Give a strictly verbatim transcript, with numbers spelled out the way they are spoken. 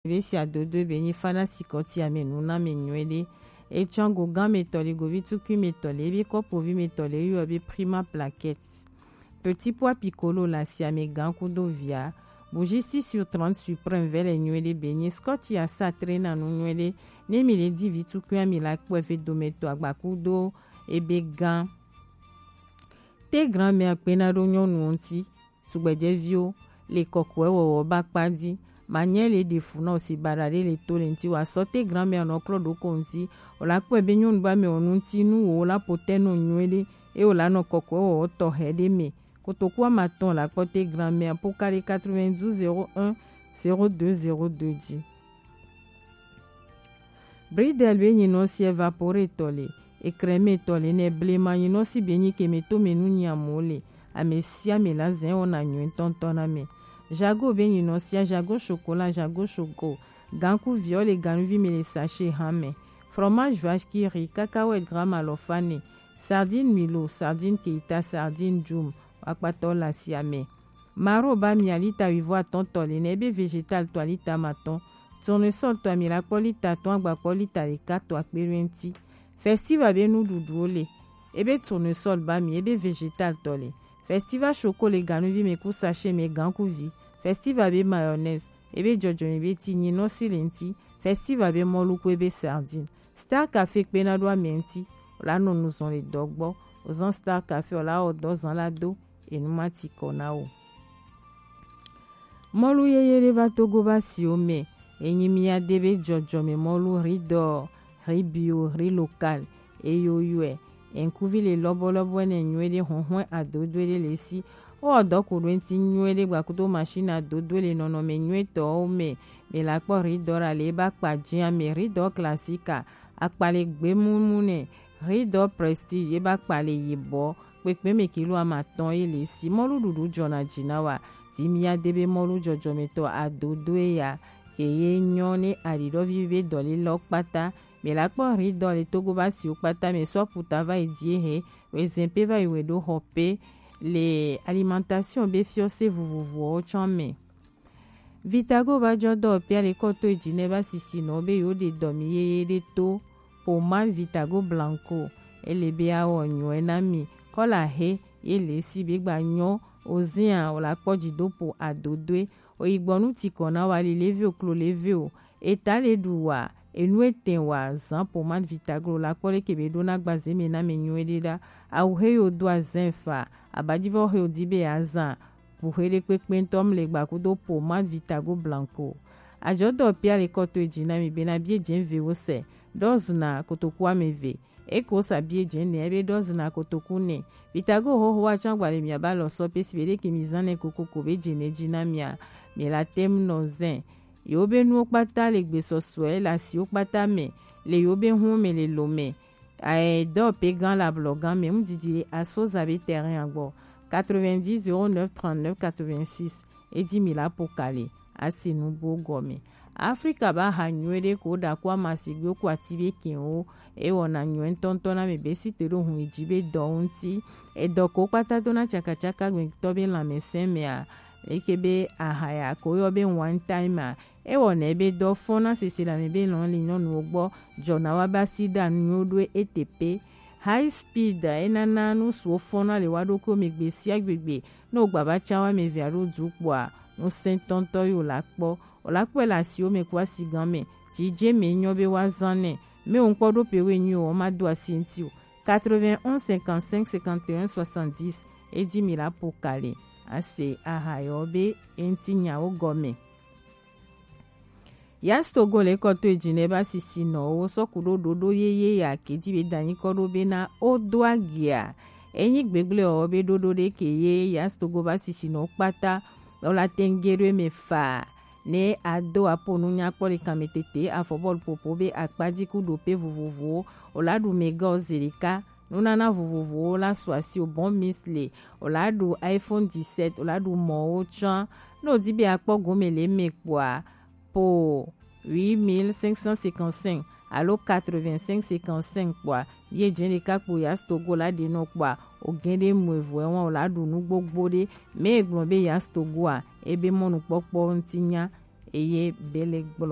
Be si adodo be nyi fana sikɔti ame nu na me nyuie ɖe. Etsɔ go gan me tɔ le, govi tukui me tɔ le, ebe kɔpovi me tɔ le, yɔ be prima plaquette. Petit pois piccolo la si ame gan kudo via. Bougie six sur trente suprême vɛ le nyuie ɖe be nyi scotch ya sa tre na nu nyuie ɖe. Ne mi le di vi tukui ami la kpɔ efe dome tɔ agba kudo ebe gan. Te grand-mère kpena ɖo nyɔnuwo ŋuti. Tugbedzɛviwo le kɔkɔe wɔwɔ ba kpa dzi. Manyɛ le ɖe fu na o si baɖa ɖe le to le ŋuti wa sɔ te grand-mère nɔ klɔ ɖo ko ŋuti. O la kpɔe be nyɔnu ba me o nu ŋuti nu wo la po te nɔ nyuie ɖe. E o la nɔ kɔkɔe wɔwɔ tɔxɛ ɖe me. Kotoku amatɔn la kpɔ te grand-mère po ka ɖe quatre-vingt-douze zéro un zéro deux zéro deux dzi. Bridel be nyinɔ si evapore tɔ le, ekreme tɔ le, ne blema nyinɔ si be nyi keme to me nu nyi amewo le, ame sia ame la zɛn wɔna nyuie ŋutɔŋutɔ na me. Jago be nyinɔ sia jago chocolat, jago choco, ganku viɔ le ganuvi me le sachet hã me. Fromage vache qui rit, cacahuète gramme alɔfa ne, sardine milo, sardine keita, sardine djum, akpatɔ la sia me. Maro ba mi alita wivɔ atɔn tɔ le nɛ ebe vegetal tɔ alita ma tɔn. Tournesol tɔ ami la kpɔ lita atɔn agba kpɔ lita ɖeka tɔ akpe ɖo eŋti. Festiva be nuɖuɖuwo le. Ebe tournesol ba mi ebe vegetal tɔ le. Festiva choco le ganuvi me ku sachet me gankuvi. Festiva be mayonnaise ebe jɔjɔme be ti nyinɔ si le ŋti. Festiva be mɔlu ku ebe sardine. Star Café kpena ɖo ame ŋti. O la nɔ nu zɔn le dɔ gbɔ. O zan Star Café o la wɔ dɔ zan la do. Enu ma ti kɔ na wo. Mɔlu yeye ɖe va Togo va siwo me. Enyi mia de be jɔjɔme mɔlu ridɔ, ribio, ri local. Eyo yɔe. Enkuvi le lɔbɔlɔbɔ ne nyuie ɖe hɔnhɔn adodo ɖe le si. O dɔ ko ɖo ŋti nyuie ɖe gbakudo machine adodo le nɔnɔme nyuie tɔwo me. Me la kpɔ ridɔ la le ba kpa jia me ridɔ classique. Akpa le gbemumu ne. Ridɔ prestige ye ba kpa le yibɔ. Kpekpe me kilo amatɔn ye le si mɔlu ɖuɖu jɔna dzi na wa. Ti mia de be mɔlu jɔjɔmetɔ adodoe ya ke ye nyɔ ne aɖiɖɔvi be dɔlelɔ kpata. Me la kpɔ ridɔ le Togo ba siwo kpata me sɔ puta va yi die he, wezɛn pe va yi we ɖo xɔ pe le alimentation be fiɔse vovovowo tsɔ me. Vitago va jɔ dɔ pia le kɔ to edzi ne va sisi nɔ be yo ɖe dɔ mi yeye ɖe to pomade Vitago Blanco. Ele be awɔ nyɔe na mi kɔla he ye le si be gba nyɔ ozia o la kpɔ dzi do po adodoe. Oyi gbɔ nu ti kɔ na wa li leve o klo leve o. Eta le ɖu wa enu etɛn wa zan pomade Vitago la kpɔ leke be ɖo na gbaze me na me nyuie ɖe ɖa. Awu he yo do azɛn fa abadivɔ he o di be azan. Buxe ɖekpekpe ŋutɔ mle gbakudo pomade Vitago Blanco. Ajɔdɔ pia le kɔ to edzi na mi bena bie dze vewo se ɖɔ zuna kotoku ame eve. Eko sa bie dze ne ebe ɖɔ zuna kotoku ne. Vitago xoxo wa tsɔ agba le mia ba lɔ sɔ pe si be ɖeke mi zan ne kokoko be dze ne dzi na mia. Mi la tem nɔ zɛn. Yewo be nuwo kpata le gbesɔsɔe le asiwo kpata me le yewo be hun me le lo me. Ae dɔ pe gan la blɔ gan me ŋdidi le asoza be terrain agbɔ quatre-vingt-dix zéro neuf trente-neuf quatre-vingt-six. Edzi mi la po kale asi nubuwo gɔme. Afrika ba ha nyuie ɖe ko ɖa ko amasigbewo ko ati be kinwo. E wɔna nyuie ŋutɔŋutɔ na me be si te ɖo hun yi dzi be dɔ ŋuti. Edɔ ko kpata do na tsakatsaka gbɛtɔ be lãmesẽ mea. Eke be aha ya ko yɔ be one time a. Ewɔ nɛ be dɔ fɔn na sese le ame be lɔn li nyɔnuwo gbɔ jɔna wa ba si ɖa nuwo ɖo ete pe. High speed enana nu suwo fɔn na le wa ɖokuiwo me gbe sia gbegbe. Ne wogba va tsa wa me via ɖo du kpɔa, nu sɛntɔntɔ yi wo la kpɔ. O la kpɔe le asiwo me ku asi gan me. Dzi dze me nyɔ be wa zan nɛ. Me wo ŋkpɔ ɖo pe we nyuie o ma do asi ŋti o. Quatre-vingt-onze cinquante-cinq cinquante et un soixante-dix. Edzi mi la po kale. Ase aha yɔ be eŋti nyawo gɔme. Yas Togo le kɔ to edzi ne ba sisi nɔ wo sɔ ku ɖo ɖoɖo yeye ya ke dzi be danyi kɔ ɖo be na o do agia. Enyi gbegble ɔ be ɖoɖo ɖe ke ye Yas Togo ba sisi nɔ kpata. O la tenge ɖo eme fa ne ado apo nu nyakpɔ le kame tete afɔ bɔlu popo be akpadzi ku ɖo pe vovovowo. O la ɖu mega o zeli ka. Nunana vovovowo la su asi o bɔn misle, o la ɖu iPhone dix-sept, o la ɖu mɔwo tsã. Ne o di be akpɔ gome le eme kpɔa, po huit mille cinq cent cinquante-cinq alo quatre-vingt-cinq cinquante-cinq kpɔa, ye dze ɖeka kpo Yas Togo la ɖe nɔ kpɔa, o gɛn ɖe mu evo ewan o la ɖu nu gbogbo ɖe. Me gblɔ be Yas Togoa ebe mɔnukpɔkpɔ ŋti nya. Eye Bele gblɔ